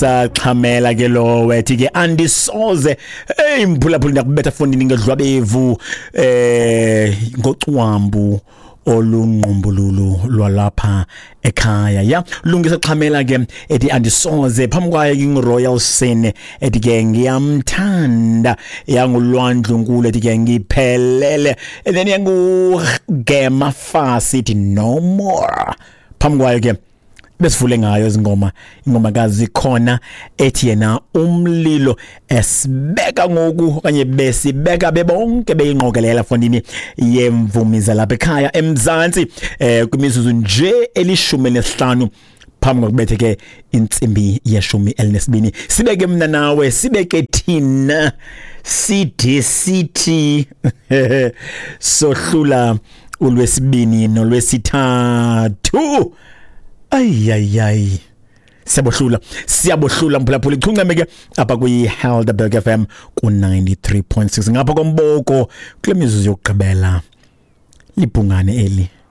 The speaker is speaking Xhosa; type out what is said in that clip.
Lungisa Xhamela ke lo wethi ke andisoze. Hey mphulaphula, ndiyakubetha fondini ngedlwabevu ngocwambu olungqumbululu lwalapha ekhaya. Ya, Lungisa Xhamela ke ethi andisoze. Phambi kwayo ke Royal Sin ethi ke ngiyamthanda, yangulwandlu nkulu ethi ke ngiphelele, and then yangu Gema Fasi ethi no more. Phambi kwayo ke besivule ngayo izingoma, ingoma kaZikhona ethi yena umlilo. Esibeka ngoku okanye besibeka bebonke beyingqokelela fondini yemvumi zalapha ekhaya eMzantsi, kwimizuzu nje eli-15 phambi kokubethe ke intsimbi ye-12. Sibeke mna nawe, sibeke thina, side sithi sohlula ulwesibini nolwesithathu. Ayayay, siyabohlula, siyabohlula mphulaphula. Ichunceme ke apha kwi-Helderberg FM ku-93.6 ngapha komboko. Kule mizuzu yokugqibela, libhungane eli.